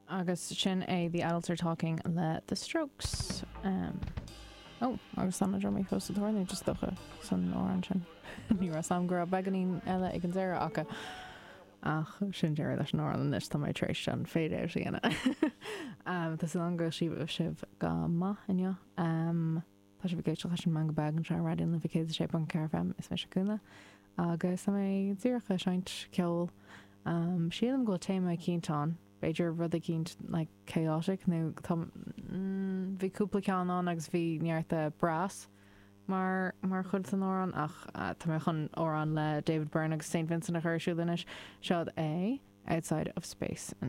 Agus sin é The Adults Are Talking le The Strokes. Ó, agus tá na drumaí fós sa tóir nó is dócha san amhrán sin. Ní raibh a fhios agam go raibh beagáinín eile ag an deireadh acu. Ach sin deireadh leis an amhrán anois, tá mé tar éis an fade out a dhéanamh. Tá súil agam go bhfuil sibh go maith inniu. Tá sibh ag éisteacht leis an Meangadh Beag anseo ar Raidió na Life 106.4 FM, is mise Cúna agus tá mé díreach ag seinnt ceoil. Sílim go bhfuil téama eicínt ann, b'fhéidir rud eicínt like chaotic nó tá, bhí cúpla ceann ann agus bhí neart brass mar mar chuid den amhrán ach tá mé chun amhrán le David Byrne agus St Vincent a chur ar siúl anois. Seo é Outside of Space.